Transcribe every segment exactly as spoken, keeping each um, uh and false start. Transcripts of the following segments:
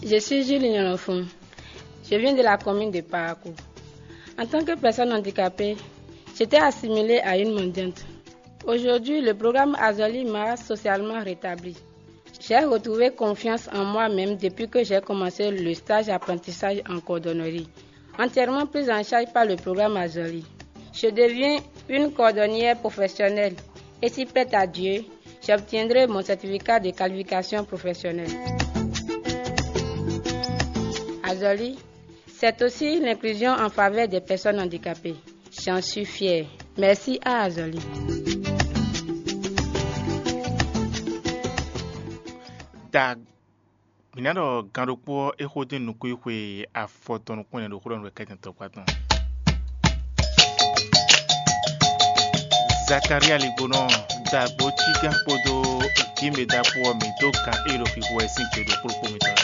Je suis Julie Nyolofon. Je viens de la commune de Parakou. En tant que personne handicapée, j'étais assimilée à une mendiante. Aujourd'hui, le programme Azoli m'a socialement rétabli. J'ai retrouvé confiance en moi-même depuis que j'ai commencé le stage apprentissage en coordonnerie, entièrement prise en charge par le programme Azoli. Je deviens une coordonnière professionnelle et si prête à Dieu, j'obtiendrai mon certificat de qualification professionnelle. Azoli, c'est aussi l'inclusion en faveur des personnes handicapées. J'en suis fière. Merci à Azoli. Da mǐ ná ɖɔ gan ɖokpó ɔ́, é xó dín nukúnxwe afɔtɔn nukúnnú ɖo xó ɖɔ nú wɛ kɛ́tɛn tɔkpá tɔn. Zakaria ligbonɔ dagbo cígán kpódó gǐmɛ ɖaxó ɔ́ mǐ dó gan é ɖo xixo wɛ sín gbe ɖokpó ɖokpó mitɔn.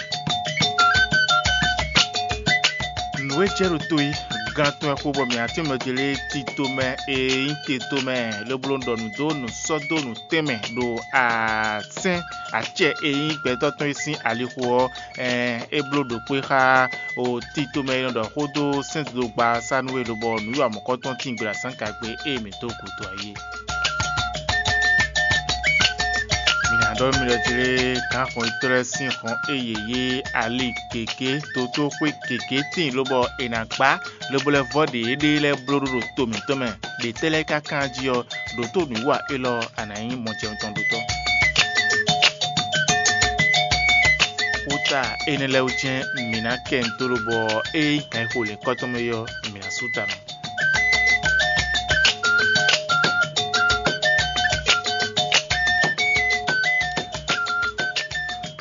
Nǔ e jɛ ɖo to é, gan tɔn wɛ xo bɔ mǐ ná tín mɛ ce lé tito mɛ e nyí te tomɛ lobo ɖɔ nǔ dó nǔ sɔ́ dó nǔ tɛnmɛ ɖo asɛ́n acɛ e nyí gbɛtɔ́ tɔn e sín alixo ɔ́, é bló ɖokpó e xá o tito mɛ e nɔ ɖɔ xó dó sɛ́ndodogba ɔ́ sá nú we lobɔ nǔwiwa mɔ̌kɔtɔn tín gbe ɖo azǎngagbe e mǐ dó gǔdo ɔ́ é. Mǐ ná ɖɔ mì ɖɔ jlé gǎn xɔnyitɔ́ lɛ́ɛ sín hɔn e yě yé ali gěgé dótóxwé gěgé tíin lobɔ è nǎ gbá lobo lɛ́ vɔ́ ɖě éɖée lɛ́ɛ bló ɖó ɖo to mǐtɔn mɛ. Ɖě tɛ́ lɛ́ɛ ka kán jí ɔ́, ɖǒ tó nǔwiwa élɔ́ ɔ́, a nǎ nyí mɔjɛmɛ tɔn ɖotɔ́. Xúta énɛ́ lɛ́ɛ wú jɛ́n mǐ ná kɛ nǔ dó lobɔ ée nyí gǎn e xo lěhunkɔtɔn mɛ é ɔ́, mǐ ná sú ta nɔ.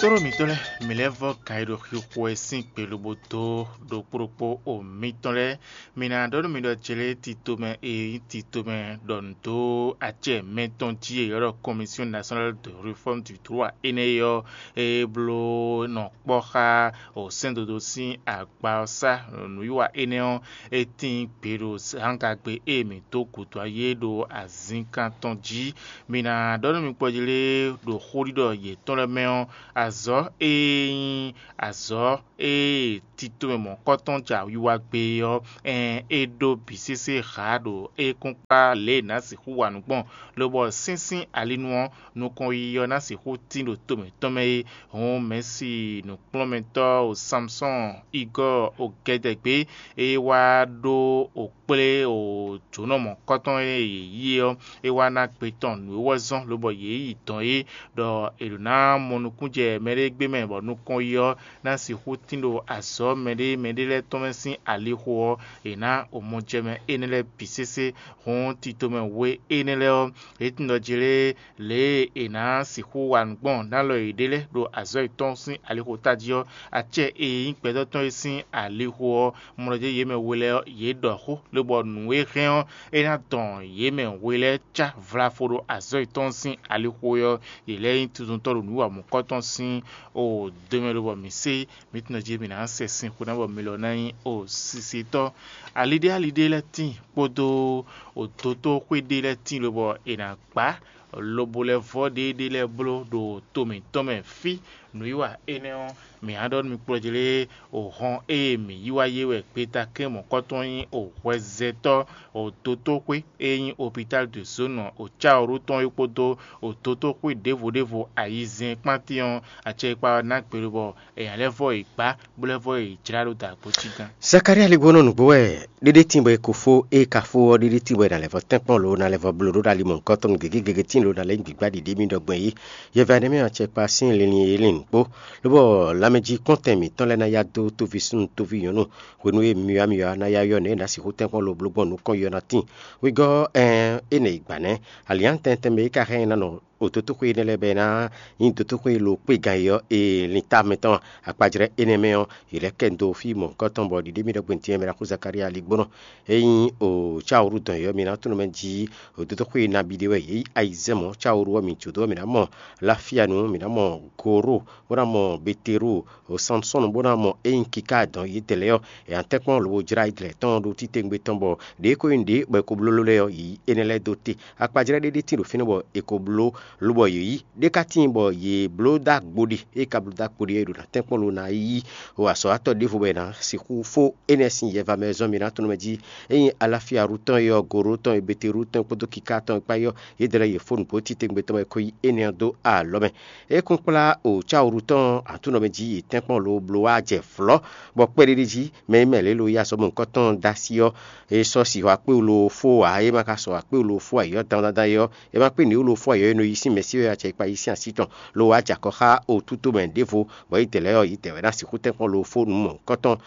Tlóló mǐtɔn lɛ́ɛ, mǐ lɛ́ vɔ́ gǎn e ɖo xixo wɛ sín gbe lobo dó ɖokpó ɖokpó o mǐtɔn lɛ́ɛ. Mǐ ná ɖɔ nú mi ɖɔ jlé titomɛ e nyí titomɛ ɖɔ nǔ dó acɛ mɛtɔn jí e è ylɔ́ ɖɔ Commission Nationale de Réforme du Droit énɛ́ é ɔ́, é bló nɔ kpɔ́ xá sɛ́ndodó sín agba ɔ́ sá. Nǔwiwa énɛ́ ɔ́, é tíin gbe ɖo zǎngagbe e mǐ dó gǔdo ayé ɖo azǐnkan tɔn jí. Mǐ ná ɖɔ nú mi kpɔjlé ɖo xóɖiɖɔ yětɔn lɛ́ɛ mɛ ɔ́, azɔ̌ e nyí azɔ̌ e titomɛ mɔ̌kɔtɔn ja wiwa gbe é ɔ́, ɛɛn, é ɖó bǐ sésé hǎ ɖo é kún kpá lě e è nǎ sixú wa nǔ gbɔn, lobɔ sínsín alinu ɔ́, nukɔn yiyi ɔ́ ná sixú tín ɖo to mǐtɔn mɛ é. Hǔn Mɛ̌si nǔkplɔ́nmɛtɔ́ o Samsɔ́ɔn Igɔ́ɔ o gɛdɛgbé, é wá ɖó o kplé o jǒnɔ mɔ̌kɔtɔn e yě yí é ɔ́, é wá ná gbe tɔn nǔ e wɛ zɔ́n lobɔ yě yi dɔ̌n é, ɖɔ è ɖǒ ná mɔ nukún jɛ mɛɖé gbé mɛ bɔ nukɔn yi ɔ́ ná sixú tín ɖo azɔ̌ mɛɖé mɛɖé lɛ́ɛ tɔn mɛ sín alixo ɔ́, è nǎ omɔjɛmɛ énɛ́ lɛ́ɛ bǐ sésé. Hǔn titomɛ we énɛ́ lɛ́ɛ ɔ́, yě tunwun ɖɔ jlé lě e è nǎ sixú wa nǔ gbɔn nú alɔ yěɖée lɛ́ɛ ɖo azɔ̌ yětɔn sín alixo tají ɔ́, acɛ e nyí gbɛtɔ́ tɔn e sín alixo ɔ́ mlɔjɛ́ yě mɛ we lɛ́ɛ ɔ́, yě ɖɔ xó, lobɔ nǔ e hɛn ɔ́, é ná dɔn yě mɛ we lɛ́ɛ cá vlafo ɖo azɔ̌ yětɔn sín alixo ɔ́, yě lɛ́ nyí tuntun tɔn ɖo nǔ wa mɔ̌kɔtɔn sín o do mɛ lobɔ mǐ sé mǐ tunwun jí mǐ ná sɛ sin xó ná bɔ mi lɔ ná nyí o sisitɔ́. Ali ɖé ali ɖé lɛ́ɛ tíin kpódó o dotóxwé ɖé lɛ́ɛ tíin lobɔ è nǎ gbá lobo lɛ́ vɔ́ ɖéeɖée lɛ́ɛ bló ɖo to mǐtɔn mɛ fí. Nǔwiwa énɛ́ ɔ́, mǐ ná ɖɔ nú mi kplɔ́jlé o hɔn ée mǐ yí wá yé wɛ gbeta kɛ́n mɔ̌kɔtɔn nyí o hwɛzɛtɔ́ o dotóxwé e nyí opitál de zónɔ o cáwǔɖú tɔn é kpódó o dotóxwé ɖěvo ɖěvo ayizɛ́n kpántín ɔ́, acɛkpa ɔ́ ná gbe lobɔ èèyàn lɛ́ɛ vɔ yě gbá, bó lɛ́ vɔ yě jlá ɖó dǎgbó cí gán. Zakalía lí gbónɔ nǔgbó wɛ ɖéɖé tín bɔ è ko fó, ée ka fó ɔ́, ɖéɖé tín bɔ è nǎ lɛ́ vɔ tɛ́nkpɔ́n lǒ ná lɛ́ vɔ bló ɖó ɖo ali mɔ̌hunkɔtɔn gěgé gěgé tíin lǒ ná lɛ́ nyí gbǐgbá ɖiɖi émí ɖɔ gbɔn yí. Yɛvɛ nɛ́ mɛ ɔ́, acɛkpa sín linlin e lin nǔgbó, lobɔ lanmɛjí kpɔ́ntɛn mǐtɔn lɛ́ɛ ná yá dó tóví súnnu tóví nyɔ̌nu hwenu e myɔ̌amyɔ̌ ná yá ylɔ́ nǔ e è nǎ sixú tɛ́nkpɔ́n ló bló gbɔn nukɔn yɔ ná tíin. Wegɔ́ ɔ́, ɛɛn, énɛ́ è gbǎ nɛ́. Alǐnnyánú tɛntɛn mɛ e ka hɛn ná nɔ o dotóxwé énɛ́ lɛ́ɛ bɔ é ná nyí dotóxwé e lo kpé gan é ɔ́, ee lin ta mɛtɔn akpajlɛ́ énɛ́ mɛ ɔ́, yě lɛ́ kɛ dó fí mɔ̌hunkɔtɔn bɔ ɖiɖe mì ɖɔgbɛ́n din ɔ́, mɛ ɖaxó Zakalía lí gbónɔ. Ényí o cáwǔɖu dɔn yɔ̌ mi ná tunwun mɛ jí o dotóxwé nabí ɖé wɛ yě yí ayizɛ́n mɔ̌ cáwǔɖu ɔ́ mi jǒ dó ɔ́, mǐ ná mɔ Lafianu, mǐ ná mɔ Goro, bó ná mɔ Beteru, o Sansɔ́nu, bó ná mɔ ényí kiká dɔn yědɛɛ lɛ́ɛ ɔ́, è nǎ tɛ́nkpɔ́n lobo jlá yědɛɛ tɔn ɖó títewungbe tɔn bɔ ɖě ko nyí nǔɖé bɔ è ko bló lɛ́ɛ ɔ́, yě yí énɛ́ lɛ́ɛ dó te. Akpajlɛ́ ɖé ɖé tíin ɖo fínɛ́ bɔ è ko bló Lobɔ yě yí ɖé ka tíin bɔ yě bló dó agbo ɖe, é ka bló dó agbo ɖe é ɖo ná tɛ́nkpɔ́n lo ná yí o azɔ̌watɔ́ ɖěvo bɔ è nǎ sixú fó énɛ́ sín yɛva mɛ e zɔ́n mì ná tɔn mɛ jí. Ényí Alafia Rutɔn e ɔ́, Goro tɔn e Beteru tɔn e kpódó Kiká tɔn e kpá é ɔ́, yědɛɛ lɛ́ɛ yě fó nǔgbó titewungbe tɔn mɛ ko yí énɛ́ ɔ́ dó alɔ mɛ. É kún kplá o cáwǔɖu tɔn Aklúnɔ mɛ jí yi tɛ́nkpɔ́n lo bló wá jɛ vlɔ̌, bɔ kpɛɖéɖé jí mɛ e mɛ lě lo yí azɔ̌ mɔ̌hunkɔtɔn dó así ɔ́, é sɔ́ sixɔ akpéwú lo fó ǎ, é ma ka sɔ́ akpéwú lo fó ayǐ ɔ́ dandan ɔ́, é ma kpé nǔ e lo fó ayǐ ɔ́ e nɔ yí sín mɛ̌si wɛ acɛ e kpa yí sín así tɔn, lo wá jɛ akɔ xá otúto mɛ ɖěvo, bɔ yědɛɛ lɛ́ɛ ɔ́, yědɛɛ wɛ ná sixú tɛ́nkpɔ́n lo fó nǔ mɔ̌hunkɔtɔn.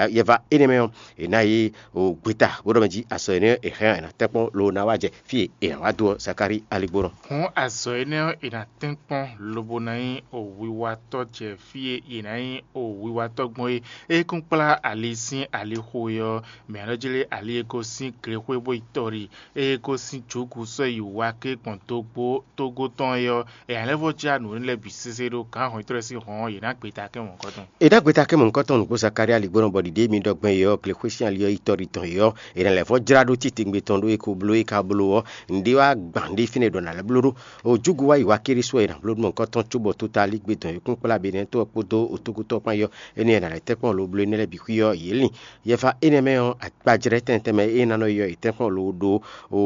Yɛva énɛ́ mɛ ɔ́, è nǎ yí o gbeta bó ɖɔ mɛ jí azɔ̌ énɛ́ e hɛn ɔ́, è nǎ tɛ́nkpɔ́n lo ná wá jɛ fí e è nǎ wá dó ɔ́, Zakári aligbó nɔ. Hǔn azɔ̌ énɛ́ ɔ́, è nǎ tɛ́nkpɔ́n lobo ná nyí o wiwatɔ́ jɛ fí e è nǎ nyí o wiwatɔ́ gbɔn é. É kún kplá ali sín alixo e ɔ́, mɛ ɔ́ nɔ jlé ali e gosín glexwé bó yi tɔ́ ɖi, ée é gosín Jǔgu sɔ́ yi Waké gbɔn dogbo tógó tɔn é ɔ́, è nǎ lɛ́ vɔ́ jlá nǔ énɛ́ lɛ́ɛ bǐ sésé ɖó gǎn hɔnnyitɔ́ lɛ́ɛ sín hɔn ɔ́, yě ná gbe ta kɛ́n mɔ̌hunkɔtɔn. È ɖó agbe ta kɛ́n mɔ̌hunkɔtɔn nǔgbó Zakária ligbɔ́nɔ bɔ ɖiɖe e mi ɖɔ gbɛn é ɔ́, glexwé sín ali ɔ́ yi tɔ́ ɖi tɔn é ɔ́, è nǎ lɛ́ vɔ́ jlá ɖó titewungbe tɔn ɖó é ko bló é ka bló ɔ́, nǔɖé wá gban ɖé fínɛ́ ɖɔ nǎ lɛ́ bló ɖó. O Júgu wá yi wá kéré sú ɔ́, è nǎ bló nú mɔ̌hunkɔtɔn cóbɔ tota lígbedɔn e kún kplá Benɛ́ɛtɔ́ ɔ́ kpódó otógútɔ́ kpán é ɔ́, énɛ́ è nǎ lɛ́ tɛ́nkpɔ́n lo bló énɛ́ lɛ́ɛ bǐ xwí ɔ́, yě lin. Yɛfa énɛ́ mɛ ɔ́, akpajlɛ́ tɛnmɛ tɛnmɛ e ná nɔ ylɔ́ yě tɛ́nkpɔ́n lo ɖó o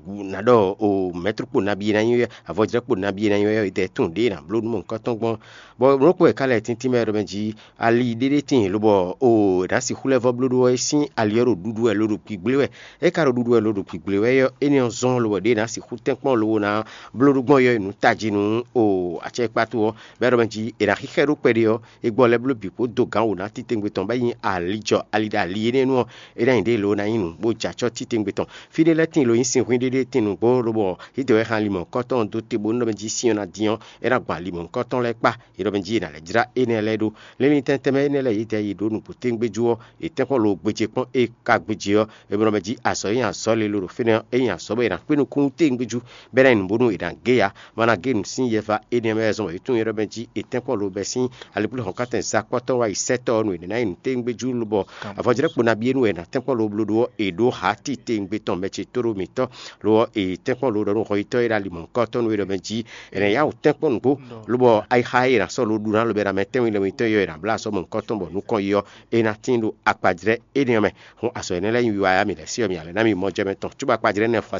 nǎ ɖɔ o mɛ̌tru kpo nabí e ná nyí wɛ, avɔjlɛ́ kpo nabí e ná nyí wɛ ɔ́, è dɛ tunwun ɖěe è nǎ bló nú mɔ̌hunkɔtɔn gbɔn. Bɔ nǔ ɖokpó wɛ ka lɛ́ tíntín mɛ ɖɔ mɛ jí ali ɖé ɖé tíin, lobɔ o è nǎ sixú lɛ́ vɔ́ bló ɖó ɔ́, é sín ali ɔ́ ɖo ɖuɖu wɛ lo ɖo gbigblé wɛ. É ka ɖo ɖuɖu wɛ lo ɖo gbigblé wɛ ɔ́, énɛ́ ɔ́ zɔ́n lobɔ ɖěe è nǎ sixú tɛ́nkpɔ́n lobo ná bló ɖó gbɔn é ɔ́, è nǔ tají nú o acɛkpátu ɔ́, bɔ é ɖɔ mɛ jí è nǎ xíxɛ́ ɖó kpɛɖé ɔ́, é gbɔ lɛ́ bló bǐ kpó dó gǎn wǒ ná titewungbe tɔn bɔ é nyí alijɔ ali ɖo ali énɛ́ nu ɔ́, é ná nyí ɖě lo ná nyí nǔ bó jɛ acɔ́ titewungbe tɔn. Fí ɖé lɛ́ɛ tíin lo nyí sinhwín ɖé ɖé tíin nǔgbó, lobɔ yědɛɛ wɛ hɛn ali mɔ̌hunkɔtɔn dó te bónú ɖɔ mɛ jí sin ɔ́ ná dín ɔ́, é ná gbɔn ali mɔ̌hunkɔtɔn lɛ́ɛ kpá. È ɖɔ mɛ jí è nǎ lɛ́ jlá énɛ́ lɛ́ɛ ɖó. Linlin tɛnmɛ tɛnmɛ énɛ́ lɛ́ɛ yědɛɛ yi ɖó nǔgbó téwúngbéjú ɔ́, è tɛ́nkpɔ́n lo gbéjé kpɔ́n é ka gbéjé ɔ́, é ɖɔ mɛ jí azɔ̌ e nyí azɔ̌ lilo ɖo fínɛ́ ɔ́, é nyí azɔ̌ bɔ è nǎ kpé nukúnnú téwúngbéjú, bɔ é ná nyí nǔ bónú è nǎ gé ya. Mana gé nǔ sín yɛva énɛ́ mɛ wɛ zɔn bɔ yě tunwun é ɖɔ mɛ jí è tɛ́nkpɔ́n lo bɛ́ sín aliblíhɔ̌nkántɛn zakpɔ́tɔ́ wá yi sɛ́tɔ́ ɔ́ nu è nǎ nyí nǔtéwúngbéjú, lobɔ avɔjlɛ́kpo nabí e nu wɛ è nǎ tɛ́nkpɔ́n lo bló ɖó ɔ́, è ɖǒ hǎ titewungbe tɔn mɛ ce tóɖó mǐtɔn. Lo ɔ́, è tɛ́nkpɔ́n lo ɖɔ nú hɔnyitɔ́ e ɖo ali mɔ̌hunkɔtɔn nu é ɖɔ mɛ jí è nǎ yá wǔ tɛ́nkpɔ́n nǔgbó, lobɔ ayixa e è nǎ sɔ́ lo ɖu ná lobɛ ná mɛ tɛ́nwun lɛ́ɛ mǐtɔn e è nǎ bló azɔ̌ mɔ̌hunkɔtɔn bɔ nukɔn yi ɔ́, é ná tíin ɖo akpajlɛ́ énɛ́ ɔ́ mɛ. Hǔn azɔ̌ énɛ́ lɛ́ɛ nyí wiwa yá mǐ lɛ́ sí ɔ́, mǐ ná lɛ́ ná mì mɔ jɛ mɛ tɔn, cóbɔ akpajlɛ́ énɛ́ fɔ